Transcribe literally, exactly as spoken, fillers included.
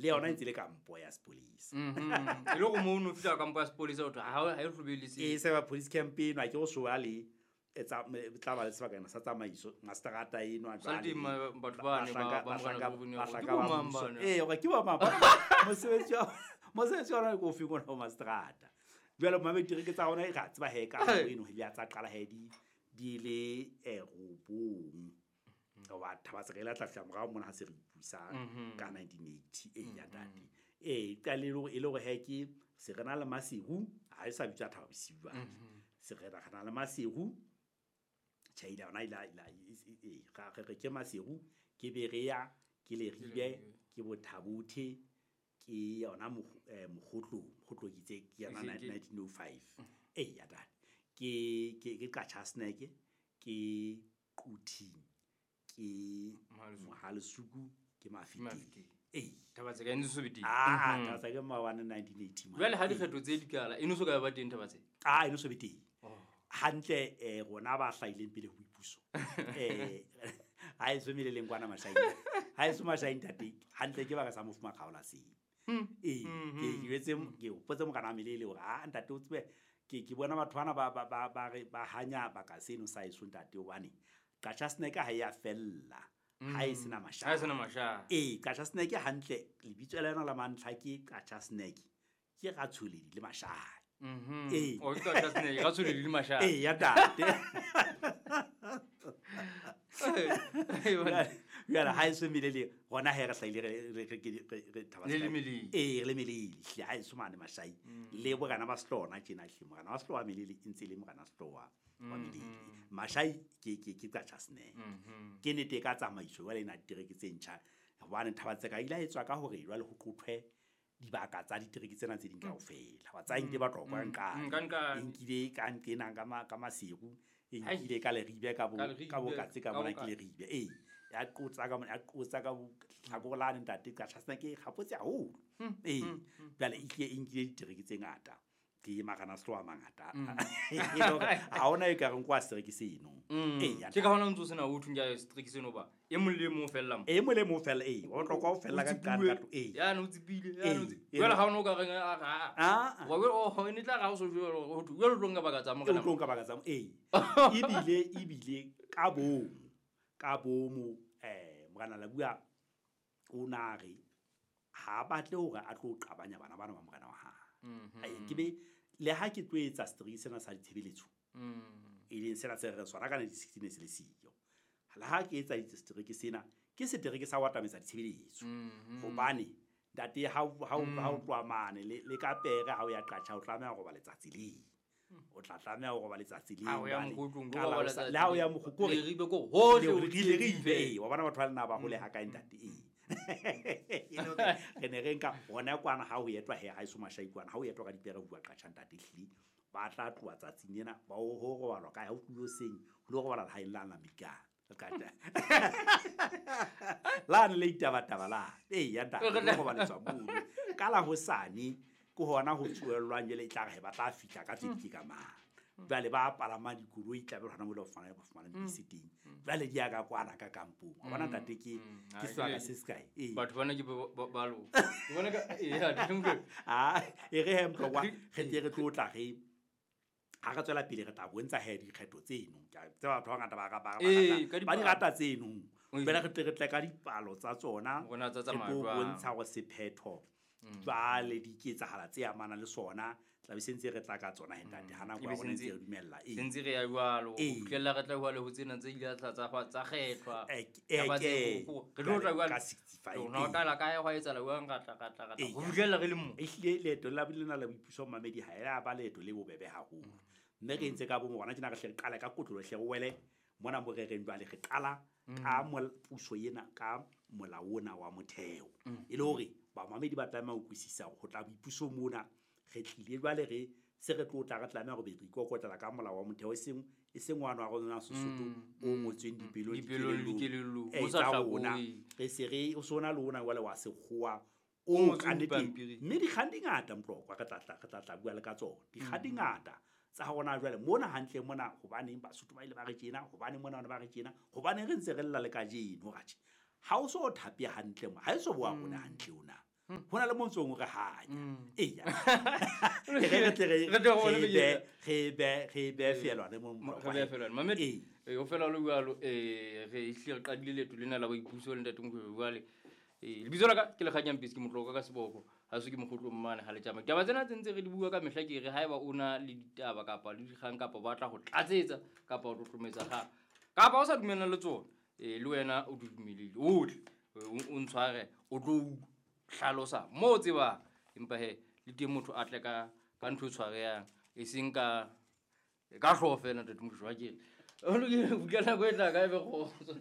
Le yona e ntse le kampo ya sepolesa. Mhm. E le hore moo o no fihla kampo ya sepolesa ho thwe ha ha e hlobelise. E se ba police camp eno ha ke go soa le etsa tla ba le sebakana sa tsamaiso mastrata eno a jwale batho ba ne ba ba ba ba mmuso. Eh hore ke ba mang mosebetsi wa mosebetsi wa rona ke ofe ngwana wa mastrata. Jwale mamedi ke tsa rona e ra tseba he ka eno he ya tsa qala he di di le eh robong. Wa Thaba-Tseka ile tla fihla morao mona ha se re ipusa ka nineteen eighty e ya ntate. Eh qale e le hore he ke se re na le Maseru ha e sa bitswa Thaba Bosiu ba. Se re na le Maseru tjhaila ona ila ila e ga re ke Maseru ke Berea ke Leribe ke Bothabothe ke yona Mokgotlo Mokgotlo ke itse ke yona nineteen oh five e ya ntate. Ke ke ke Qachaseneke ke Quthing ke Mohalesuku ke Mafeteng. Eh Thaba-Tseka e ntse so be teng. Ah Thaba-Tseka maobane nineteen eighty. Jwale ha dikgetho tse di kala e no so ka ba teng Thaba-Tseka. Ah e no so be teng. Hantle eh rona ba hlahileng pele ho boipuso. Eh ha e so meleleng kwana Mashaing. Ha e so Mashaing ntate. Hantle ke baka sa mofuma kgaola seng. Eh ke ke jwetse ke hopotse mokana melele hore ah ntate o tsebe ke ke bona batho bana ba ba ba re ba hanya baka seno sa eso ntate hobane Qachaseneke ha ya fella ha e sena masha ha e sena masha eh Qachaseneke hantle lebitso la yona la mantlha ke Qachaseneke ke Ratsholedi le Masha mhm o ke Qachaseneke Ratsholedi le Masha eh ya tate ya ha e se melele rona he re hlaile re re re Thaba le melele eh re melele ha e so mane Mashai le borana ba Sehlona tjena hle morana wa Sehloa melele e ntse le morana Sehloa wa melele Mashai ke ke ke Qachaseneke ke nete ka tsamaiso jwale ena ditereke tse ntjha hobane Thaba-Tseka ile a etswa ka hore jwale ho qothwe dibaka tsa ditereke tsena tse ding kaofela wa tsa nke ba tlokwa nka nkile ka nkena ka ka Maseru e nkile ka Leribe ka bo ka bokatse ka bona ke Leribe eh ya qotsa ka ya qotsa ka tlhakolane ntate Qachaseneke kgapotse haholo eh jwale e ke nkile ditereke tse ngata ke magana Sehloa mangata ha ona e ka reng kwa setereke seno eh ke ka hona ntso sena o thunya setereke seno ba e mong le mong fella mo e mong le mong fella eh o tlokwa o fella ka ka ka eh ya no tsipile ya no tsipile jwale ha ona o ka reng a a wa o ne tla ga o so jwalo ho thwe jwale o tlo nka baka tsa morena o tlo nka baka tsa eh ebile ebile ka bomo ka bomo eh morena la bua o na re ha batle hore a tlo qabanya bana bana ba morena wa hae. Mm-hmm. Ke be le ha ke tlo etsa setereke sena sa ditshebeletso e leng sena se re sona ka nineteen sixteen se le siyo le ha ke etsa setereke sena ke setereke sa ho atametsa ditshebeletso hobane ntate ha ha ha o tloha mane le le ka pere ha o ya Qacha o tlameha ho roba letsatsi le o tla tlameha ho roba letsatsi le le ha o ya Mokgotlo Leribe ko hohle o Leribe eh wa bona batho ba lena ba hole ha kae ntate eh re ne re nka hona kwana ha o etwa he ha eso Mashai kwana ha o etwa ka dipere bua Qacha ntate hle ba tla tloha tsatsing lena ba o ho robalwa kae ha o tlo seng ho lo robala ha eng la la Amerika la ne le itabataba la eh ya ntate ho robaletswa mono ka la hosane ke hona ho tsoellwang jwale e tla re ba tla fihla ka tse di ka mang jwale ba palama dikoloi tla be hona mo le fumana ba fumana dibese teng jwale di ya ka kwana ka kampong wa bona ntate ke ke sebaka se sekae eh batho bana ke ba lo bona ka eh ha di ah e re he mtlokwa re tle re tlo tla re ha re tswela pele re tla bontsha he dikgetho tseno ke tseba batho ba ngata ba ba ba di rata tseno jwale re tle re tle ka dipalo tsa tsona rona tsa re tsamaya tlo jwang bontsha hore sephetho jwale di ketsahala tse amanang le sona tla be sentse re tla ka tsona he ntate ha nako ya rona ntse re dumella e sentse re ya jwalo ho fihlella re tla jwalo ho tsena tse ile tsa tsa tsa kgethwa Eh, eh, ke re tlo tla jwalo ka sixty-five rona o qala kae hwa etsahala jwang ra tla ra tla ra tla ho fihlella re le mo e hlile leeto la lena la boipuso mamedi ha ya ba leeto le bobebe haholo mme re entse ka bomo rona tjena re hle re qale ka kotlolo hle re wele mona mo re reng jwale re qala ka puso ena ka molao ona wa motheo e le hore bamamedi ba tlameha ho utlwisisa hore ho tla boipuso mona re tlile jwale re se re tlo tla re tlameha hore be re ikokotlela ka molao wa motheo e seng e seng wa wa rona Sesotho o ngotsweng dipelong dikelellong o sa rona re se re o sona le ona jwale wa sekgowa o ka nnete mme dikgang di ngata Mtlokwa re tla tla re tla tla bua le ka tsona dikgang di ngata tsa rona jwale mona hantle mona hobaneng Basotho ba ile ba re tjena hobaneng mona ba re tjena hobaneng re ntse re lla le kajeno ratjhe ha o so thape hantle mo ha e so boa rona hantle ona Ho na le mo ntsong o re hanya. Mm. Eya. Re re tle re Re tle re bone re be menyetla. re be re be feelwane mo Mo- re behe feelwane. Mamedi, Ee. eh, ho fela ho le jwalo, eh, re ehlile re qadile leeto lena la boipuso le Ntate Mokoena jwale. Eh, lebitso la ka ke Lekganyang ke motloka ka seboko. Ha se ke mokgotlong mane ha le tjama. Ditaba tsena tse ntse re di bua ka mehla ke re haeba o na le ditaba kapa le dikgang kapa o batla ho tlatsetsa kapa ho tlotlometse kgang, kapa o sa dumellane le tsona, eh, le wena o di dumelile, o tle, o, o ntshware, o tlo hlalosa moo o tsebang. Empa he, le teng motho a tle ka, ka ntho e tshwarehang, e seng ka, ka hlooho feela Ntate Mokoena, wa kere. Ho lokile, ho fihlela nako e tlang, ka ebe kgotso.